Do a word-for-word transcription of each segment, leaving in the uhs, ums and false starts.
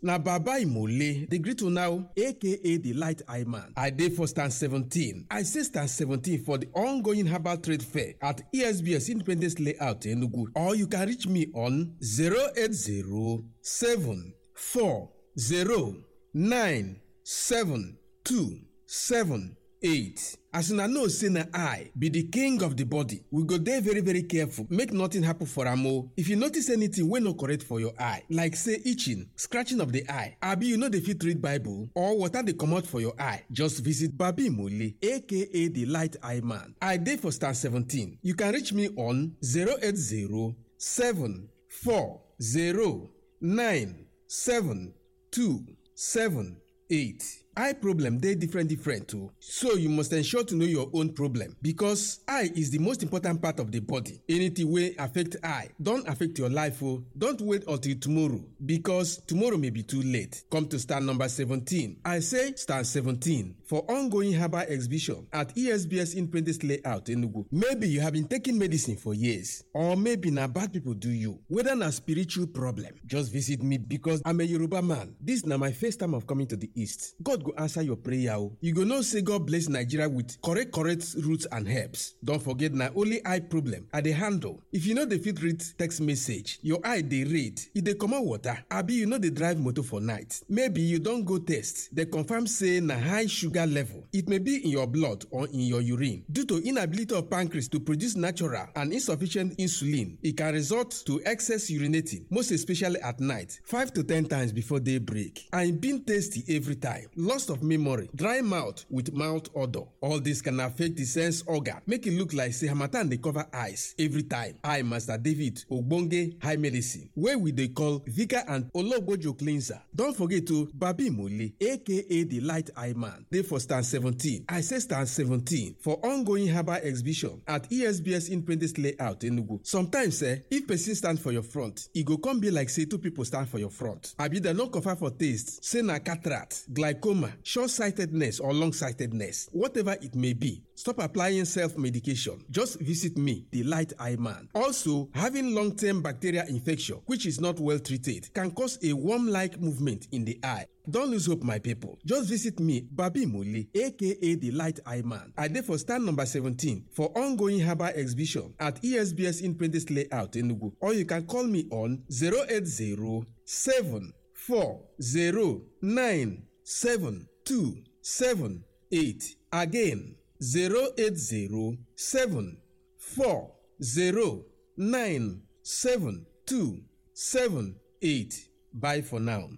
Na Baba Imole, the great now, A K A the Light Eye Man. I dey for stand seventeen. I say stand seventeen for the ongoing herbal trade fair at E S B S Independence Layout, Enugu. Or you can reach me on zero eight zero seven four zero nine seven two seven eight. As una know say na eye be the king of the body, we go dey very, very careful make nothing happen for am o. If you notice anything wey no correct for your eye, like say itching, scratching of the eye, abi you no dey fit read Bible or water dey comot for your eye, just visit Babi Mole, A K A the Light Eye Man. I dey for stand seventeen. You can reach me on zero eight zero seven four zero nine seven two seven eight. Eye problem dey different different o, so you must ensure to know your own problem, because eye is the most important part of the body. Anything wey affect eye don affect your life o. Don't wait until tomorrow, because tomorrow may be too late. Come to stand number seventeen. I say stand seventeen for ongoing herbal exhibition at E S B S Independence Layout, Enugu. Maybe you have been taking medicine for years, or maybe na bad people do you. Whether na spiritual problem, just visit me, because I'm a Yoruba man. This na my first time of coming to the East. God go answer your prayer o. You go know say God bless Nigeria with correct correct roots and herbs. Don't forget, na only eye problem I dey handle. If you no dey fit read text message, your eye dey read, e dey comot water, abi you no dey drive motor for night. Maybe you don go test, dem confirm say na high sugar level. It may be in your blood or in your urine. Due to inability of pancreas to produce natural and insufficient insulin, e can result to excess urinating, most especially at night, five to ten times before day break. And e been tasty every time. Loss of memory, dry mouth with mouth odor. All this can affect the sense organ, make e look like say harmattan dey cover eyes every time. I, Master David Ogbonge High Medicine, wey we dey call Vika and Ologbojo Cleanser. Don't forget to Babi Mole, A K A the Light Eye Man, dey for stand seventeen. I say stand seventeen for ongoing herbal exhibition at E S B S Independence Layout, Enugu. Sometimes, eh, if person stand for your front, e go come be like say two people stand for your front. Abi dem no confirm for taste, say na cataract, glaucoma, short-sightedness or long-sightedness. Whatever it may be, stop applying self-medication. Just visit me, the Light Eye Man. Also, having long-term bacterial infection, which is not well treated, can cause a worm-like movement in the eye. Don't lose hope, my people. Just visit me, Babi Mole, A K A the Light Eye Man. I dey for stand number seventeen for ongoing herbal exhibition at E S B S Independence Layout, Enugu. Or you can call me on zero eight zero seven four zero nine seven two seven eight. Again, zero eight zero seven four zero nine seven two seven eight. Bye for now.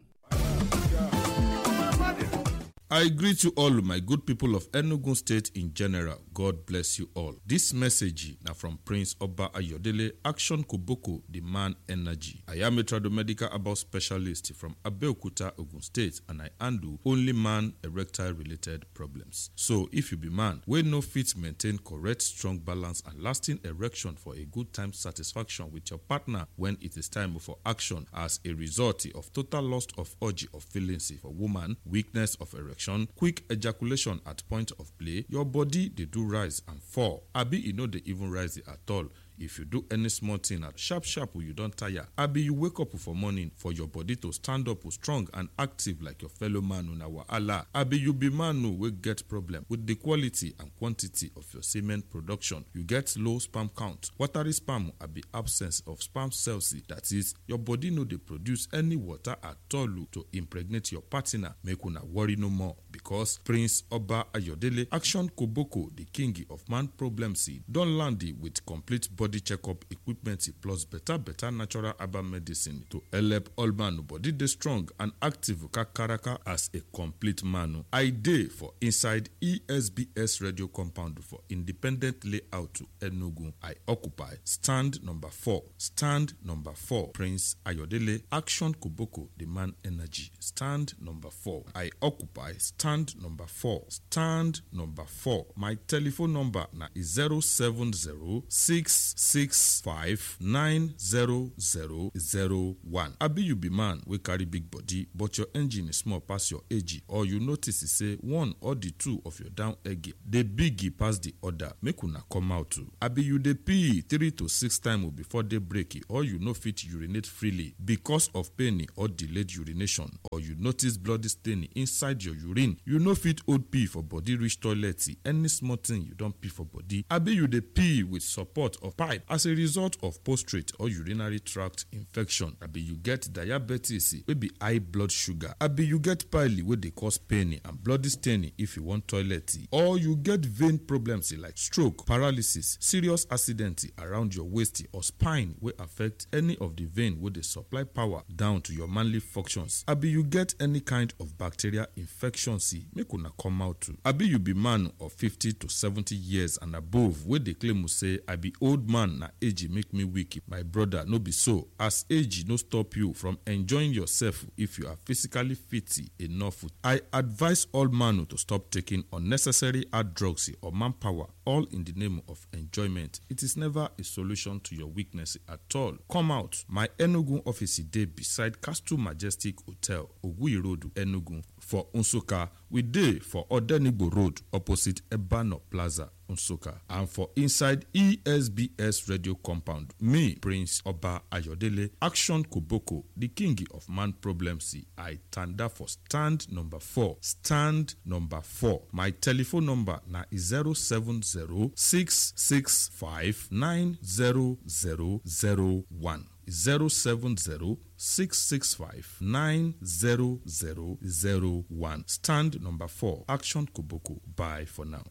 I greet you all, my good people of Enugu State in general. God bless you all. This message na from Prince Oba Ayodele, Action Koboko, the man energy. I am a tradomedical herbal specialist from Abeokuta, Ogun State, and I handle only man erectile related problems. So if you be man wey no fit maintain correct, strong balance and lasting erection for a good time satisfaction with your partner when it is time for action as a result of total loss of urge of feelings for woman, weakness of erection, quick ejaculation at point of play, your body dey do rise and fall, abi e no dey even rise at all. If you do any small thing at sharp sharp, you don tire. Abi you wake up for morning for your body to stand up strong and active like your fellow man, una wahala. Abi you be man wey get problem with the quality and quantity of your semen production. You get low sperm count, watery sperm, abi absence of sperm cells. That is, your body no dey produce any water at all to impregnate your partner. Make una worry no more, because Prince Oba Ayodele, Action Koboko, the king of man problems, don land with complete body checkup equipment plus better better natural herbal medicine to help all man body dey strong and active kakaraka as a complete man. I dey for inside E S B S radio compound for Independent Layout, Enugu. I occupy stand number four. Stand number four. Prince Ayodele, Action Koboko, the man energy. Stand number four. I occupy stand Stand number four. Stand number four. My telephone number na zero seven zero six six five nine zero zero one. Abi you be man wey carry big body, but your engine is small pass your age, or you notice say one or the two of your down egg dey big pass the other, make una come out o. Abi you dey pee three to six times before day break, or you no fit urinate freely because of pain or delayed urination, or you notice bloody stain inside your urine, you no fit hold pee for body reach toilet, any small thing you don pee for body. Abi you dey pee with support of pipe as a result of prostate or urinary tract infection. Abi you get diabetes wey be high blood sugar. Abi you get pile wey dey cause pain and bloody stain if you wan toilet, or you get vein problems like stroke, paralysis, serious accident around your waist or spine wey affect any of the vein wey dey supply power down to your manly functions. Abi you get any kind of bacterial infection, make una come out too. Abi you be man of fifty to seventy years and above wey dey claim say, "I be old man, na age make me weak." My brother, no be so. As age no stop you from enjoying yourself if you are physically fit enough. I advise all man to stop taking unnecessary hard drugs or manpower, all in the name of enjoyment. It is never a solution to your weakness at all. Come out. My Enugu office dey beside Castle Majestic Hotel, Oguyi Road, Enugu. For Nsukka, we dey for Odenigbo Road, opposite Ebano Plaza, Nsukka. And for inside E S B S radio compound, me, Prince Oba Ayodele, Action Koboko, the king of man problems, I tanda for stand number four. Stand number four. My telephone number na zero seven zero six six five nine zero zero one. Zero seven zero six six five nine zero zero zero one. Stand number four. Action Koboko. Bye for now.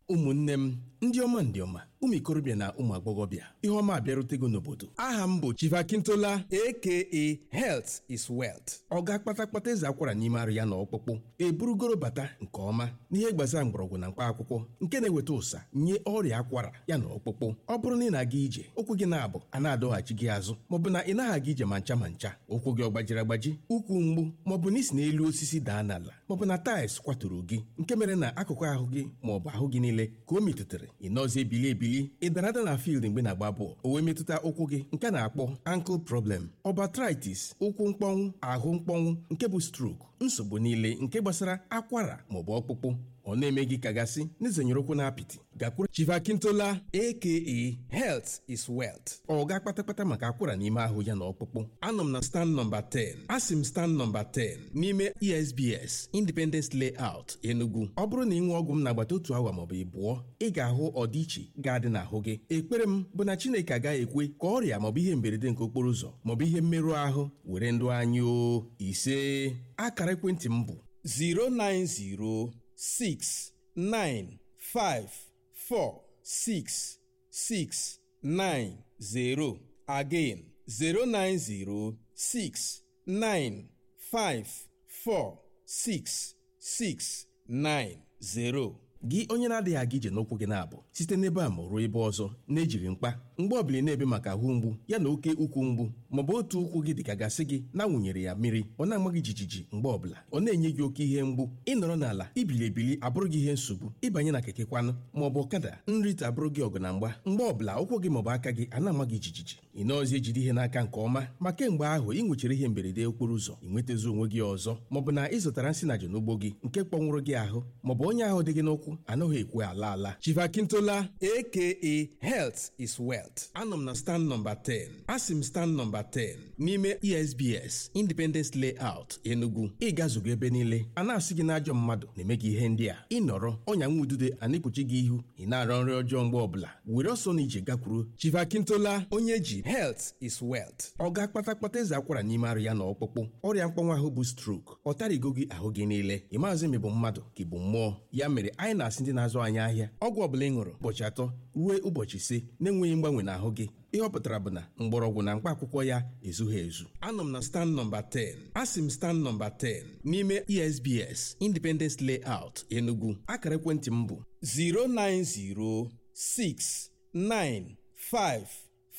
Ụmụnne m, ndị ọma, ndị ọma, ụmụ ikorobịa na ụmụ agbọghọbịa, ihe ọma abịarutego n'obodo. Aha m bụ Chief Akintola, A K A Health is Wealth. Ọ ga-akpata kpata eze akwara n'ime arụ ya na ọkpụkpụ. Eburugoro bata nke ọma n'ihe gbasara mgbọrọgwụ na mkpa akwụkwọ nke na-eweta ụsa nye ọrịa akwara ya na ọkpụkpụ. Ọ bụrụ na ị na-aga ije, ụkwụ gị na-abụ a na-adọghachi gị azụ, maọbụ na ị naghị aga ije ma ncha ma ncha, ụkwụ gị ọ gbajiri agbaji, ukwu mgbu, maọbụ na isi n'elu osisi daa n'ala, maọbụ na tiles kwaturu gị, nke mere na akụkụ ahụ gị maọbụ ahụ gị niile ka o metụtara, ị nọzie ebili ebili, ị dara ada na field mgbe na-agba bọọlụ, o wee metụta ụkwụ gị, nke a na-akpọ ankle problem, ọ bụ arthritis, ụkwụ mkpọnwụ, ahụ mkpọnwụ, nke bụ stroke, nsogbu niile nke gbasara akwara maọbụ ọkpụkpụ, ọ na-eme gị ka gasị n'izenyere ụkwụ na apịtị, gakwuru Chief Akintola, A K A Health is Wealth. Ọ ga-akpata kpata maka akwara n'ime ahụ ya na ọkpụkpụ. Anọ m na stand number ten. Asị m stand number ten n'ime E S B S Independence Layout, Enugu. Ọ bụrụ na ị ṅụọ ọgwụ m n'agbata otu awa maọbụ ịbụọ, ị ga-ahụ ọdịiche ga-adị n'ahụ gị. Ekpere m bụ na Chineke agaghị ekwe ka ọrịa maọbụ ihe mberede nke okporo ụzọ maọbụ ihe mmerụ ahụ were ndụ anyị o. Ise. Akara ekwentị m bụ zero nine zero six nine five four six six nine zero. Again, zero nine zero six nine five four six six nine zero. Gị onye na-adịghị aga ije n'ụkwụ gị na-abụ site n'ebe a ma ruo ebe ọzọ na-ejiri mkpa, mgbe ọbụla ị na-ebe maka ahụ mgbu ya na oke ukwu mgbu, maọbụ otu ụkwụ gị dịka gasị gị na-awụnyere ya mmiri, ọ na-ama gị jijiji mgbe ọbụla, ọ na-enye gị oke ihe mgbu, ị nọrọ n'ala, ibili ebili abụrụ gị ihe nsogbu, ịbanye na keke kwanụ maọbụ ọkada, nrite abụrụ gị ọgụ na mgba, mgbe ọbụla ụkwụ gị maọbụ aka gị a na-ama gị jijiji, ị nọọzi ejide ihe n'aka nke ọma, ma kemgbe ahụ ị nwechara ihe mberede okporo ụzọ, ị nwetazi onwe gị ọzọ, maọbụ na ị zụtara nsị na n'ugbo gị nke kpọnwụrụ gị ahụ, maọbụ onye ahụ dị gị n'ụkwụ anaghị ekwe ala ala. Chief Akintola, A K A Health is Wealth. Anọ m na stand number ten. Asị m stand number ten n'ime E S B S Independence Layout, Enugu. Ị gazugo ebe niile, a na-asị gị na ajọ mmadụ na-eme gị ihe ndị a. Ị nọrọ, ọnya nwa udude a na-ekpuchi gị ihu, ị na-arọ nrị ọjọọ mgbe ọbụla. Were ọsọ na ije gakwuru Chief Akintola, onye ji Health is Wealth. Ọ ga-akpata kpata eze akwara n'ime arụ ya na ọkpụkpụ, ọrịa mkpọnwa ahụ bụ stroke, ọ tarịgo gị ahụ gị niile. Ị maazị ma ị bụ mmadụ ka ị bụ mmụọ. Ya mere anyị na-asị ndị na-azụ anyị ahịa, ọgwụ ọbụla ị ṅụrụ ụbọchị atọ ruo ụbọchị ise na-enweghị mgbanwe n'ahụ gị, ihe ọ pụtara bụ na mgbọrọgwụ na mkpa akwụkwọ ya ezughị ezu. Anọ m na stand number ten. Asị m stand number ten n'ime E S B S Independence Layout, Enugu. Akara ekwentị m bụ zero nine zero six nine five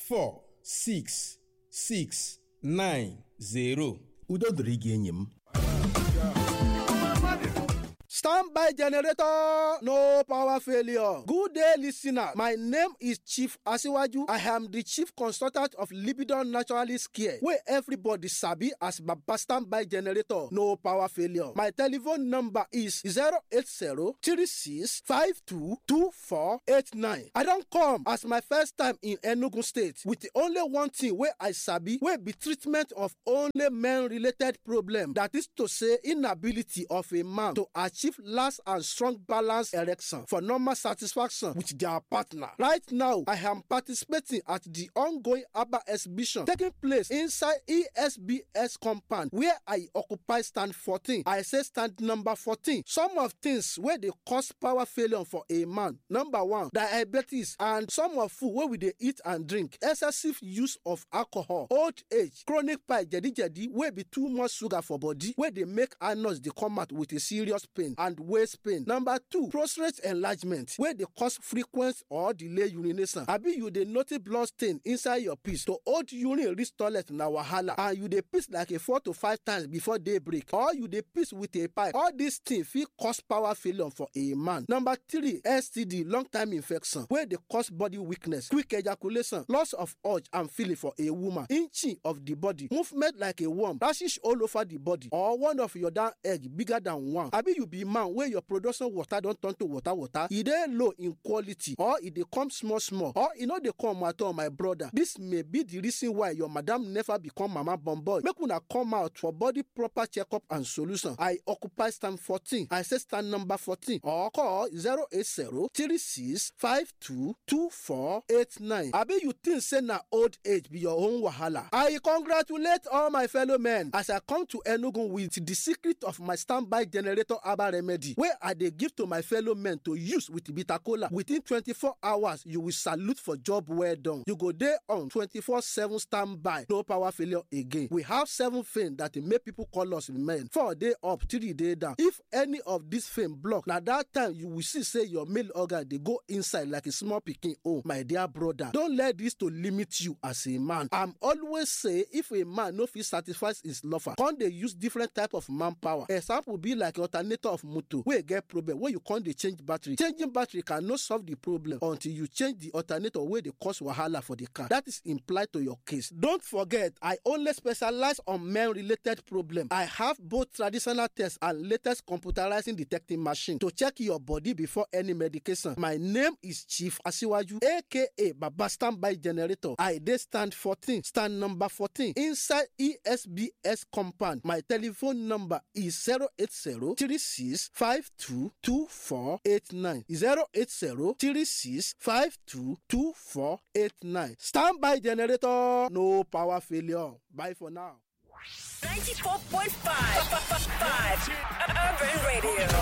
four six six nine zero. Udo dịrị gị, enyi m. Standby generator, no power failure. Good day, listener. My name is Chief Asiwaju. I am the chief consultant of Libidon Naturalist Care, where everybody sabi as Baba Standby generator, no power failure. My telephone number is zero eight zero three six five two two four eight nine. I don come as my first time in Enugu State with the only one thing wey I sabi, wey be treatment of only men-related problem. That is to say, inability of a man to achieve last and strong balance erection for normal satisfaction with their partner. Right now, I am participating at the ongoing herbal exhibition taking place inside E S B S compound where I occupy stand fourteen. I say stand number fourteen. Some of things wey dey cause power failure for a man. Number one, diabetes and some of food wey we dey eat and drink, excessive use of alcohol, old age, chronic pie, jedi jedi wey be too much sugar for body wey dey make anus dey come out with a serious pain and waist pain. Number two, prostate enlargement wey dey cause frequent or delay urination. Abi you dey notice blood stain inside your piss? To hold urine reach toilet na wahala, and you dey piss like a four to five times before daybreak, or you dey piss with a pipe. All these things fit cause power failure for a man. Number three, S T D, long time infection wey dey cause body weakness, quick ejaculation, loss of urge and feeling for a woman, inching of the body, movement like a worm, rashes all over the body, or one of your down egg bigger than one. Abi you be man wey your production water don turn to water water, e dey low in quality, or e dey come small small, or e no dey come at all, my brother. This may be the reason why your madam never become mama born boy. Make una come out for body proper checkup and solution. I occupy stand fourteen. I say stand number fourteen, or call zero eight zero three six five two two four eight nine. Abi you think say na old age be your own wahala? I congratulate all my fellow men as I come to Enugu with the secret of my standby generator herbal remedy wey I dey give to my fellow men to use with bitter kola. Within twenty-four hours, you will salute for job well done. You go dey on twenty-four seven standby, no power failure again. We have seven fame that dey make people call us men. Four dey up, three dey down. If any of this fame block, na that time you will see say your male organ dey go inside like a small pikin own. My dear brother, don't let this to limit you as a man. I'm always say, if a man no fit satisfy his lover, come dey use different type of manpower. Example be like alternator of motor wey get problem, wey you come dey change battery. Changing battery cannot solve the problem until you change the alternator wey dey cause wahala for the car. That is implied to your case. Don't forget, I only specialize on men-related problem. I have both traditional tests and latest computerizing detecting machine to check your body before any medication. My name is Chief Asiwaju, A K A Baba Standby Generator. I dey stand fourteen, stand number fourteen inside E S B S compound. My telephone number is zero eight zero three six five two two four eight nine. Zero eight zero three six five two two four eight nine. Standby generator, no power failure. Bye for now. ninety-four point five Urban Radio.